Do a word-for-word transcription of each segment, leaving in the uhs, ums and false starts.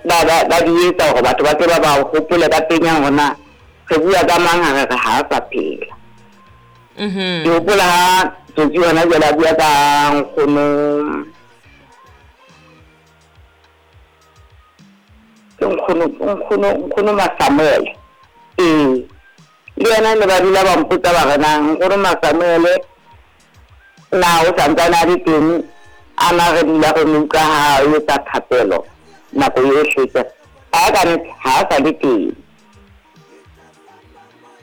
ba ba ba di etsa hore batho ba tle ba ba hopole ka penya hore na re bua ka mang ha re re ha a sa phela. Mhm. Ke hopola ha Tsotsi hona jwale a bua ka nkgono, ke nkgono nkgono nkgono Masamuele. Ee, le yena ne ba dula ba mpotsa ba re na nkgono Masamuele na o santsane a le teng, a na re dula re mo utlwa ha o etsa thapelo nako yohle. Ke re ha ka nnete ha a sa le teng.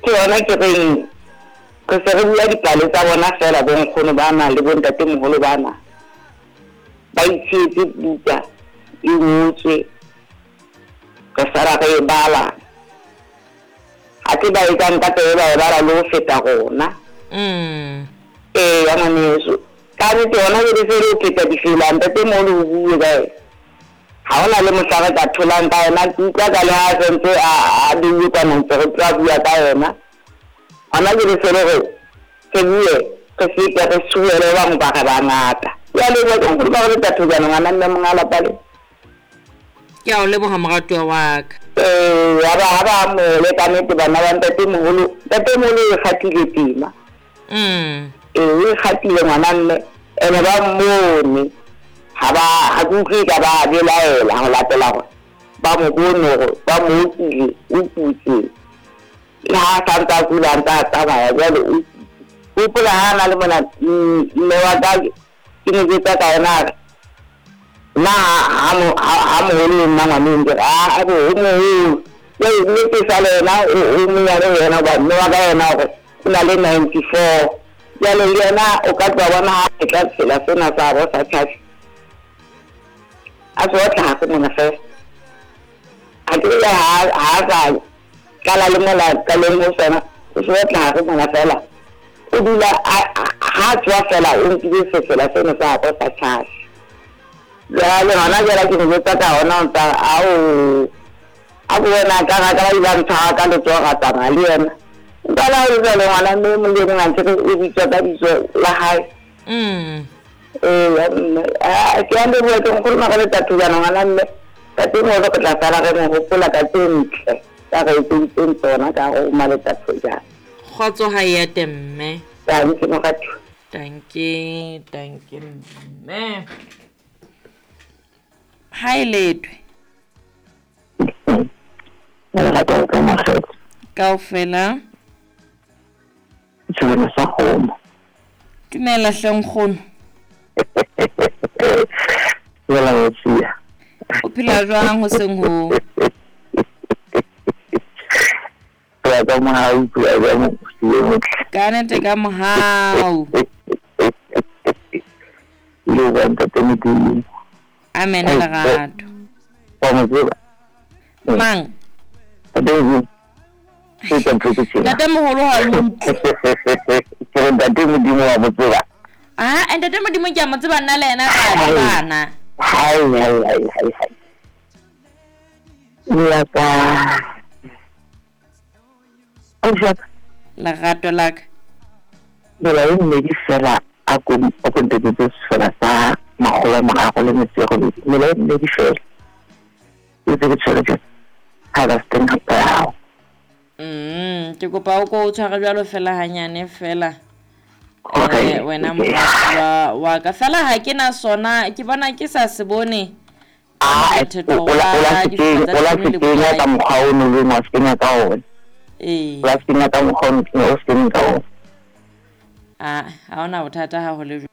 Ke yona ke reng re se re bua dipale tsa bona feela bo nkgono bana le bo ntatemoholo bana. Ba itshietse buka e ngotswe, re sala re e bala. Athe ba etsang ka tsebe ba e bala le ho feta rona. Mm. Ee, ya ngwaneso. Ka nnete hona jwale se re o pheta difela ntatemoholo o bue ka yena. Ha hona le mohla re ka tholang ka yena. Ke utlwa ka le ha sentse a a beuwe kwana ntse re tla bua ka yena. Hona jwale se le re re bue re fete re suele ba bang ba re bangata. Ke a leboha ke nkgono ba re Thojana ngwana mme monga lapa le. Ke a o leboha moratuwa wa ka. Ee, ha ba ha ba amohele ka nnete bana ba ntatemoholo. Ntatemoholo o kgathile tema. Mm. Ee, o ikgathile ngwana mme ene ba mmone. Ha ba ha ke utlwe ka ba belaela ho latela hore ba mo bone hore ba mo okile, o kutse. Le ha a santse a kula a ntse a tsamaya jwale o kutse. Hopola ha na le mona mme wa ka ke mo jwetsa ka yena a re nna ha mo ha moholo le nna ngwaneng ke re a bo o moholo. Jwale mme ke sa le yena o o monyane ho yena hoba mme wa ka yena hore o na le ninety-four. Jwale le yena o ka tloha bona ha e tla tsela sena sa bo sa tjhatjha. A tswa tlase mona feela. A ke le ha ha sa tlala le mola qalong ho sona, o tswa tlase mona feela. O dula ha tswa feela o nkile sefela sena sa bo sa tjhatjha. Jwale hona jwale ke mo jwetsa ka hona o ntsa ao a bo wena ka ga ka ba ile ntshwara ka letsoho ra tsamaya le yena. Nka la ho jwale ngwana mme mong le mong a ntse o bitswa ka bitso la hae. Mm. Ee, ya mme. Ah, ke a leboha ke nkgono Magaleta Thojana ngwana mme. Ntatemoholo re tla sala re mo hopola ka tse ntle tsa re etseditseng tsona ka ho Maleta Thojana. Kgotso ha e ate mme. Dankie moratuwa. Dankie, dankie mme. Ha e letwe. Lerato ka makgetho. Kaofela. Tshebelo sa kgomo. Dumela hle nkgono. Dumela Motsia. O phela jwang hoseng ho? Phela ka mohau, phela ka mohau. Ka nnete ka mohau. Le wa ntate Modimo. Amen lerato. Wa mo tseba? Mang? Ntate Modimo. Ntate moholo ha o utlwe. Ke re ntate Modimo wa mo tseba. Ah, ntate Modimo ke a mo tseba nna le yena re a tsebana. Hai, hai, hai, hai, hai. Ya ka. Ausi Lerato la ka. Mela e mmedi fela a ko a ko ntetsetse sefela sa makgolo a mararo le metso e robedi. Mela e mmedi fela. E tse ke tshwere jwang? Ha ba se teng hape ya hao. Mm, ke kopa o ko o tshware jwalo fela hanyane fela. Okay. Eh, wena moratuwa wa ka fela ha ke na sona, ke bona ke sa se bone. Ah, Mothetho o la o la wa se difela kenya, tsa o la tshimo se le kenya ka bokae. mokgwa o no leng wa se kenya ka ona. Ee. O la se kenya ka mokgwa o no o se kenya ka ona. Ah, ha hona bothata ha ho le jwalo.